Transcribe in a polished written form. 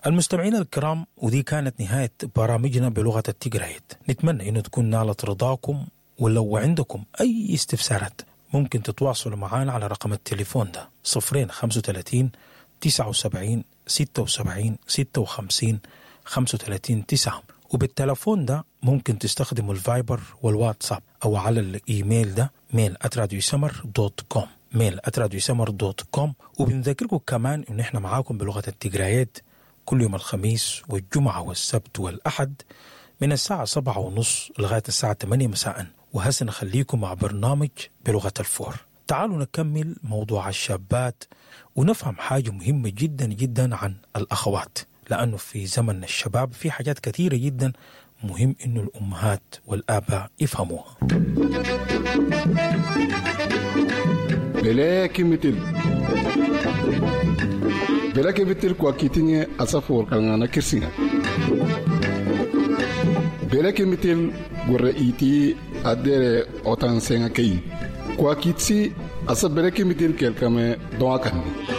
المستمعين الكرام، ودي كانت نهاية برامجنا بلغة التجرايت. نتمنى إنه تكون نالت رضاكم، ولو عندكم أي استفسارات ممكن تتواصلوا معنا على رقم التليفون ده 0 35 79 76 56 35 9. وبالتلفون ده ممكن تستخدموا الفايبر والواتساب، أو على الإيميل ده mail@radiosummer.com، mail@radiosummer.com. وبنذكركم كمان إن إحنا معاكم بلغة التجرايات كل يوم الخميس والجمعة والسبت والأحد من الساعة 7:30 لغاية الساعة 8 مساء. وهسه نخليكم مع برنامج بلغة الفور. تعالوا نكمل موضوع الشابات ونفهم حاجة مهمة جدا جدا عن الأخوات، لأنه في زمن الشباب في حاجات كثيرة جدا مهم إنه الأمهات والآباء يفهموها. Bele kimitil bele kimitil kwa kitinye asafor kangana kirsinga bele kimitil gore iti adere otan senga kei kwa kitsi asa bele kimitil kelkame doa kanni.